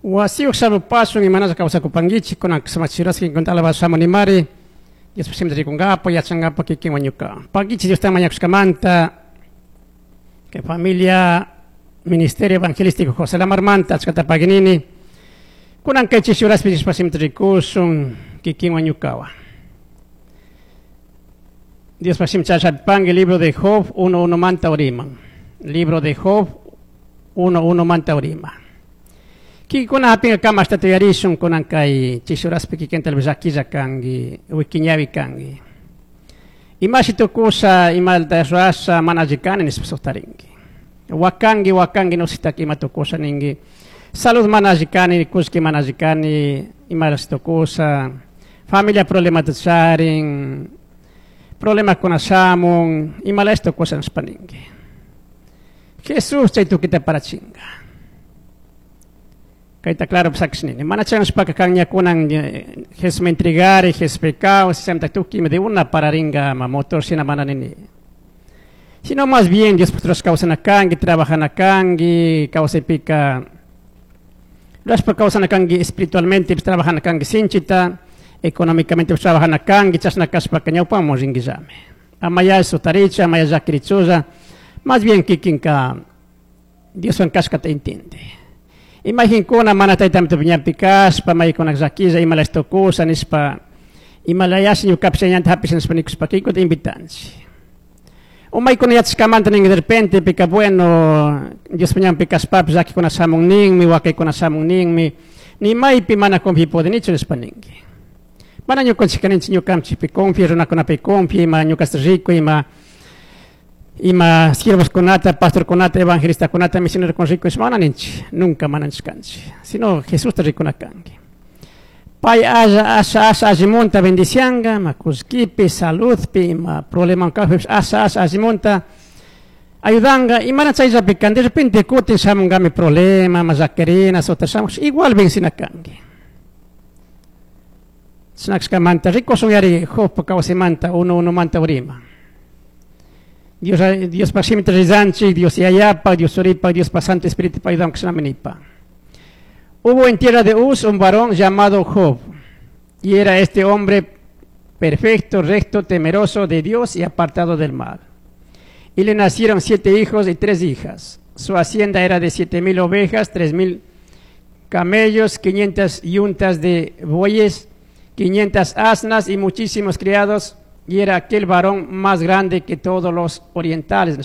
Wasiyuq shamupasun imanasqa kawsakupankichik kunan sumachirasqa alabasqa shamunimari Diospa siminta rikunkapak yachankapak kikin wañuka. Pakichik Diosta mañakushkamanta kay familia Ministerio Evangelístico José Lamarmanta achkata paginini kunan kay chishi horaspi Diospa siminta rikusun kikin wañukawa. Diospa siminta chashappanki libro de Job 1.1 manta uriman. Libro de Job 1.1 manta urima. Kikuna hapinga kama hasta tuyarishun kunan kay chishi horaspi kikin tal vez llaquilla kanki wikiñawi kanki. Imashi tukusha imalta rurasha mana alli kani nishpa suqtarinki. Wakanki wakanki nusitaka ima tukusha ninki. Salud mana alli kani kullki mana alli kani imalashi tukusha familia problemata charin problemakuna shamun imalashi tukusha nishpa ninki. Jesús chay tukita parachinga. Kayta claro nini. Mana chanshpaka kanña kunan Jesús me entregare, Jesús pecado, si se tuki de una pararinga ma motor sina mana nini. Sino más bien Dios putrus kawsana kanki, trabajana kanki, kawsaypika rashpa kawsana kanki espiritualmente trabajana kanki sinchita, económicamente trabajana kanki, chashna kashpaka ñawpaman rinkillami. Amaya sutaricha, amaya llakirichulla, más bien kikinka Dioswan kashkata entiende. Imaginkuna mana taytamita ñanpi kashpa, maykuna llakilla imalash tukusha nishpa, imalayash ñukapish ñanta hapisha nishpa nikushpa kikuta invitanchik. Umaykuna yachashkamanta ninki de repente pika bueno, Diospa ñanpi kashpapish llakikuna shamun ninmi, wakaykuna shamun ninmi, ni maypi mana confi pudinichu nishpa ninki. Mana ñukanchik kaninchik ñukanchikpi confi, runakunapi confi, ima ñukasta riku, ima ima siervoskunata, pastorkunata, evangelistakunata, misionerokuna riku nishpa mana ninchik, nunca mana nishkanchik, sino Jesusta rikuna kanki. Pay asha asha asha allimunta bendicianga, ma kullkipi, saludpi, ima problema kajpipish asha asha allimunta ayudanga, y mana chayllapi kan, de repente kutin shamungami problema, ma llakirina, sota shamush, igual vencina kanki. Chinakshkamanta, rikusun yari Jobpa kawsaymanta, uno uno manta urima. Dios, Diospa shimita rizanchik, Dios yayapa, Dios churipa, Diospa Santo Espíritu ayudan kshnaminipa. Hubo en tierra de Uz un varón llamado Job, y era este hombre perfecto, recto, temeroso de Dios y apartado del mal. Y le nacieron 7 hijos y 3 hijas. Su hacienda era de 7,000 ovejas, 3,000 camellos, 500 yuntas de bueyes, 500 asnas y muchísimos criados. Y era aquel varón más grande que todos los orientales.